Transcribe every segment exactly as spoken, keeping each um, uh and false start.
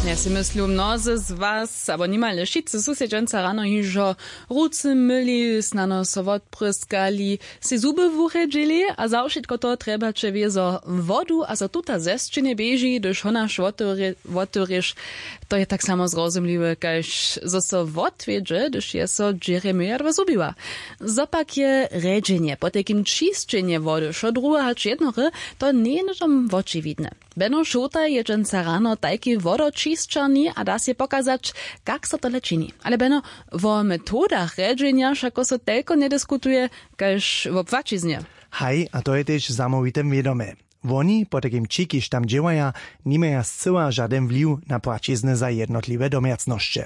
Ja sej myslu, mnozy z was abo nimale wšitcy su sej dźensa rano hižo rucy myli, snano so wotpryskali, sej zuby wurjedźili a za wšitko to trjebaće wězo wodu a zo tuta ze sćěnje běži hdyž honaš wotewrěš. To je tak samo zrozumliwe kaž zo so wotwjedźe hdyž je so dźěrje myjadła zhubiła. Zo pak je rjedźenje potajkim čisćenje wody wšo druhe hač jednore, to njeje hnydom wočiwidne. Beno šołtaj je dźensa rano tajki wodoćisćarni a da sej pokazać, kak so tole čini. Ale beno, wo metodach rjedźenja wšako so telko njediskutuje kaž wo płaćiznje. Haj, a to je tež zamołwite wědome. Woni potajkim ći kiž tam dźěłaja, nimaja scyła žadyn wliw na płaćizny za jednotliwe domjacnosće.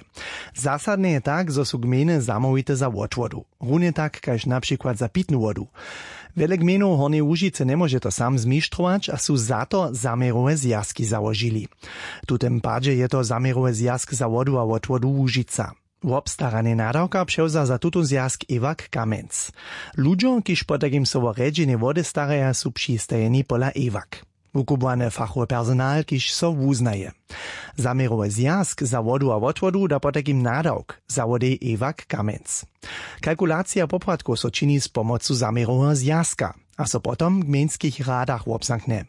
Zasadne je tak zo su gmejny zamołwite za wotwodu, runje tak kaž na přikład za pitnu wodu. Wjele gmejnow hornjeje łužicy njemóže to sam zmištrować a su za to zaměrowe zwjazki załožili. W tutym padźe je to zaměrowy zwjazk za wodu a wotwodu łužica. Wobstaranje nadawka přewza za tutón zwjazk ewak kamjenc. Ludźo kiž potajkim so wo rjedźenje wody staraja su přistajeni pola ewak, wukubłany fachowy personal kiž so wuznaje. Zaměrowy zwjazk za wodu a wotwodu da potajkim nadawk, zawodej ewak kamjenc. Kalkulacija popłatkow so čini z pomocu zaměroweho zwjazka a so potom w gmejnskich radach wobzamknje.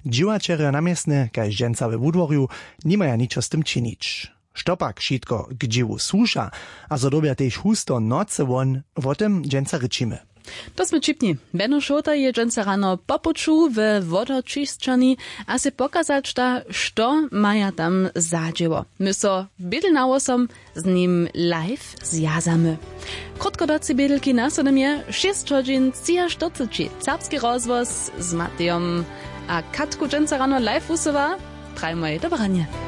Dźěłaćerjo na městnje kaž dźensa we wudworju nimaja ničo z tym činić. Što pak wšitko k dźěłu słuša a zo dyrbja tež husto nocy won, wo tym dźensa rěčimy. To smy ćipni. Beno šołtaj je dźensa rano po puću we wodoćisćarni a sej pokazać da što maja tam za dźěło. My so bědel na wosom z nim live zwjazamy. Krótko docy bědelki na sodom je šěsć hodźin třiaštyrceći. Serbski rozhłos z matejom a katku dźensa rano live wusyła. Trajmoj do branje.